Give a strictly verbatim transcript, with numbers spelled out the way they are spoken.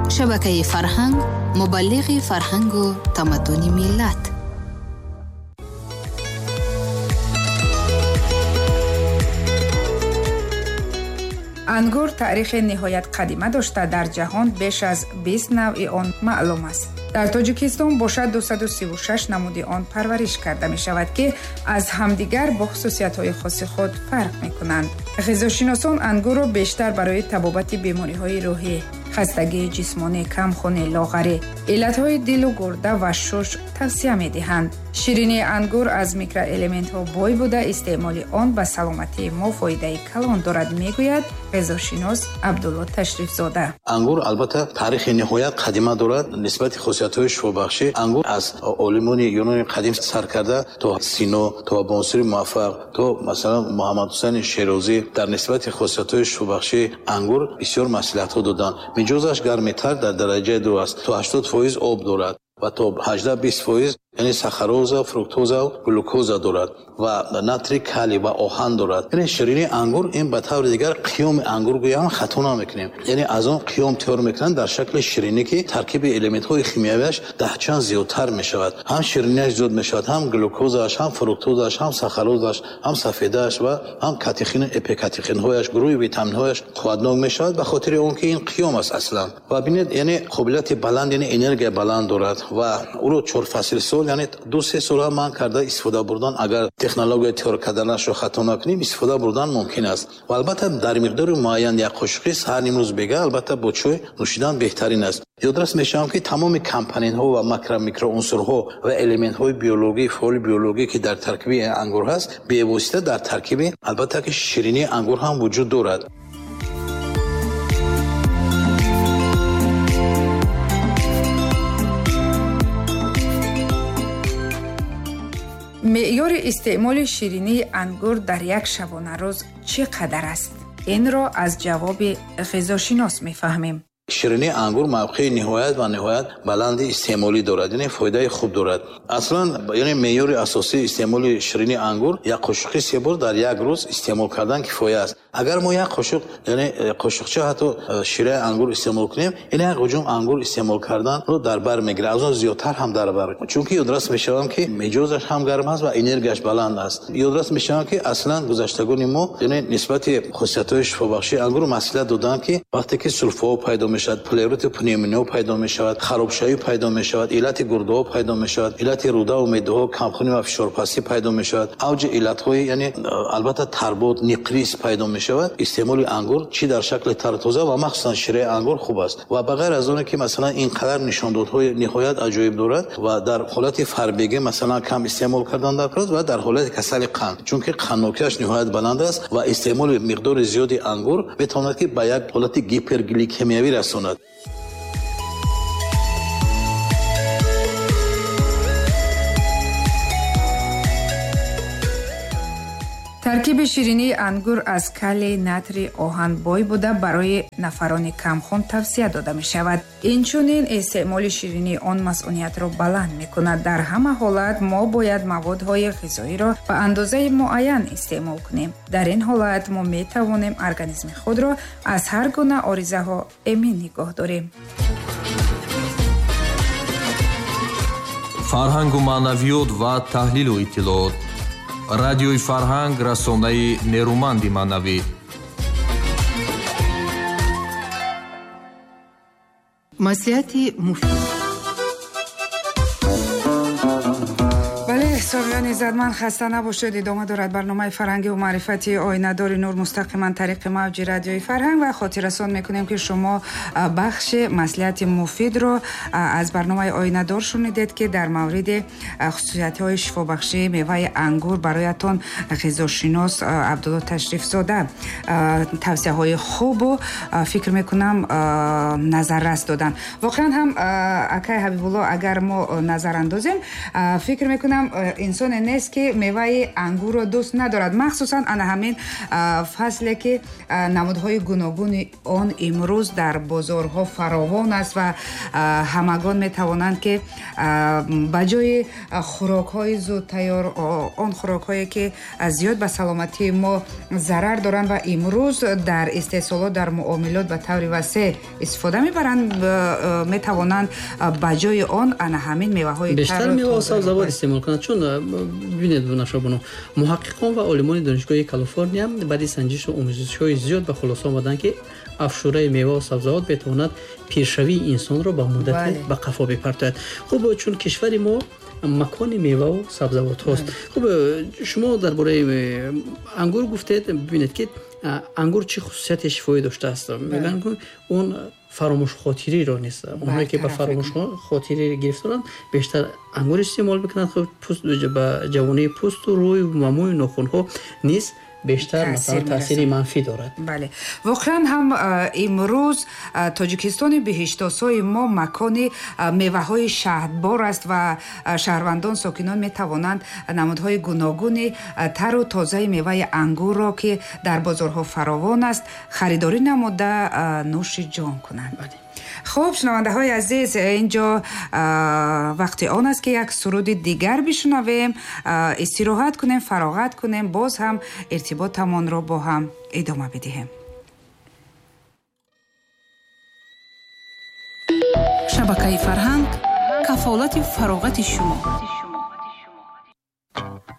Шабакаи Фарҳанг мубаллиғи фарҳангу тамаддуни миллат. Ангур таърихи ниҳоят қадима дошта, дар ҷаҳон беш аз бист навъи он маълум аст. Дар Тоҷикистон бошад дусаду сиву шаш намуди он парвариш карда мешавад, ки аз ҳамдигар бо хусусиятҳои хоси худ фарқ мекунанд. Ғизошиносон ангурро бештар барои табобати бемориҳои рӯҳӣ, хастагии ҷисмонӣ, камхунӣ, лоғарӣ, иллатҳои дилу гурда ва шуш тавсия медиҳанд. Ширинии ангур аз микроэлементҳо бой буда, истеъмоли он ба саломатии мо фоидаи калон дорад, мегӯяд ғизошинос Абдулло Ташрифзода. Ангур албатта таърихи ниҳоят қадима дорад. Нисбати хусусиятҳои шифобахшӣ ангур аз олимони юнони қадим сар карда то Сино, то Абӯнасри Муваффақ, то масалан Муҳаммад Ҳусайни Шерозӣ дар нисбати хусусиятҳои шифобахши ангур бисёр маслиҳатҳо доданд. Миҷозаш гармитар дар дараҷаи ду аст, то ҳаштод фоиз об дорад ва то ҳаждаҳ бист фоиз яъне сахароза, фруктоза, глюкоза дорад ва натрий, калий ва оҳан дорад. Яъне ширинии ангур ин ба таври дигар қиёми ангур гӯям хато намекунем. Яъне аз он қиём тайёр мекунанд дар шакли ширинӣ, ки таркиби элементҳои химиявиаш даҳчанд зиёдтар мешавад. Ҳам ширинияш зиёд мешавад, ҳам глюкозааш, ҳам фруктозааш, ҳам сахарозааш, ҳам сафедааш ва ҳам катехин, эпикатехинҳояш, гурӯҳи витаминҳояш қувватнок мешавад ба хотири он ки ин қиём аст аслан. Ва бинед, яъне қобилияти баланд, яъне энергия баланд дорад ва ӯро чор фасл сол, яъне ду се сол ман карда истифода бурдан, агар технология тайёр карданашро хато накунем, истифода бурдан мумкин аст. Ва албатта дар миқдори муайян як қошуқи саҳар нимрӯз бега албатта бо чой нӯшидан беҳтарин аст. Ёдрас мешавам, ки тамоми компонентҳо ва макро-микроунсурҳо ва элементҳои биологӣ, фаъоли биологӣ, ки дар таркиби ангур ҳаст, бевосита дар таркиби албатта ки ширинии ангур ҳам вуҷуд дорад. Меъёри истеъмоли ширинии ангур дар як шабонарӯз чӣ қадар аст? Инро аз ҷавоби ғизошинос мефаҳмем. Ширинии ангур мавқеи ниҳоят ва ниҳоят баланди истеъмолӣ дорад, яъне фоидаи хуб дорад. Аслан яъне меъёри асосии истеъмоли ширинии ангур як қошуқи се бор дар як рӯз истеъмол кардан кифоя аст. Агар мо як қошуқ, яъне қошуқча ҳатто шираи ангур истеъмол кунем, яъне як ҳуҷум ангур истеъмол карданро дар бар мегирад, аз он зиёдтар ҳам дар бар. Чунки ёдрас мешавам, ки меҷозаш ҳам гарм аст ва энергияш баланд аст. Ёдрас мешавам, ки аслан гузаштагони мо яъне нисбати хусусиятҳои шифобахшии ангур маслиҳат доданд, ки вақте ки сулфаҳо пайдо мешавад, плеврити пневмония пайдо мешавад, харобшавӣ пайдо мешавад, иллати гурдаҳо пайдо мешавад, иллати руда ва меъдаҳо, камхунӣ ва фишорпастӣ пайдо мешавад, авҷи иллатҳои яъне албатта тарбот, ниқрис пайдо мешавад. Истеъмоли ангур чӣ дар шакли тару тоза ва махсусан шираи ангур хуб аст. Ва ба ғайр аз оне ки масалан ин қадар нишондодҳои ниҳоят аҷоиб дорад ва дар ҳолати фарбегӣ масалан кам истеъмол кардан дар кор ва дар ҳолати касали қанд, чунки қанднокиаш ниҳоят баланд аст ва истеъмоли миқдори зиёди ангур метавонад ки ба як ҳолати гипергликемиявӣ расонад. Таркиби ширинии ангур аз калий, натрий, оҳан бой буда барои нафарони камхун тавсия дода мешавад. Инчунин истеъмоли ширинии он масъуниятро баланд мекунад. Дар ҳама ҳолат мо бояд маводҳои ғизоиро ба андозаи муайян истеъмол кунем. Дар ин ҳолат мо метавонем организми худро аз ҳар гуна оризаҳо эмин нигоҳ дорем. Фарҳангу маънавиёт ва таҳлилу иттилоот. Радиои Фарҳанг расонаи нерӯманди маънавӣ. Маслиҳати муфид. Бале, сомиёни иззатманд, хаста набошед. Идома дорад барномаи фарҳангию маърифати Оинадори Нур мустақиман тариқи мавҷи радиои Фарҳанг ва хотиррасон мекунем, ки шумо бахши маслиҳати муфидро аз барномаи Оинадор шунидед, ки дар мавриди хусусиятҳои шифобахшии меваи ангур бароятон ғизошинос Абдулло Ташрифзода тавсияҳои хубу фикр мекунам назаррас доданд. Воқеан ҳам, акай Ҳабибулло, агар мо назар андозем, фикр мекунам Инсоне нест, ки меваи ангурро дӯст надорад, махсусан ана ҳамин фасле, ки намудҳои гуногуни он имрӯз дар бозорҳо фаровон аст ва ҳамагон метавонанд, ки ба ҷои хӯрокҳои зудтайёр, он хӯрокҳое, ки зиёд ба саломатии мо зарар доранд ва имрӯз дар истеҳсолот, дар муомилот ба таври васеъ истифода мебаранд, метавонанд ба ҷои он ана ҳамин меваҳои бештар мева ва сабзавот истеъмол кунанд. Чун бибинед, Нашобону, муҳаққиқон ва олимони Донишгоҳи Калифорния баъди санҷишу омӯзишҳои зиёд ба хулоса омаданд, ки афшураи мева ва сабзавот метавонад пиршавии инсонро ба муддате ба қафо бипартояд. Хуб, чун кишвари мо макони меваву сабзавотҳост. Хуб, шумо дар бораи ангур гуфтед. Бибинед, ки ангур чӣ хусусияти шифоӣ доштааст. Мегӯянд, ки он фаромӯшхотириро нест. Онҳое, ки ба фаромӯшхотирӣ гирифторанд, бештар ангур истеъмол мекунанд. Хуб, пӯст, ба ҷавонии пӯсту рӯй ва мӯю нохунҳо низ бештар масалан таъсири манфӣ дорад. Бале, воқеан ҳам имрӯз Тоҷикистони биҳиштосои мо макони меваҳои шаҳдбор аст ва шаҳрвандон, сокинон метавонанд намудҳои гуногуни тару тозаи меваи ангурро, ки дар бозорҳо фаровон аст, харидорӣ намуда нӯши ҷон кунанд. Хуб, шунавандаҳои азиз, инҷо вақти он аст, ки як суруди дигар бишунавем, истироҳат кунем, фароғат кунем, боз ҳам иртиботамонро бо ҳам идома бидиҳем. Шабакаи Фарҳанг, кафолати фароғати шумо.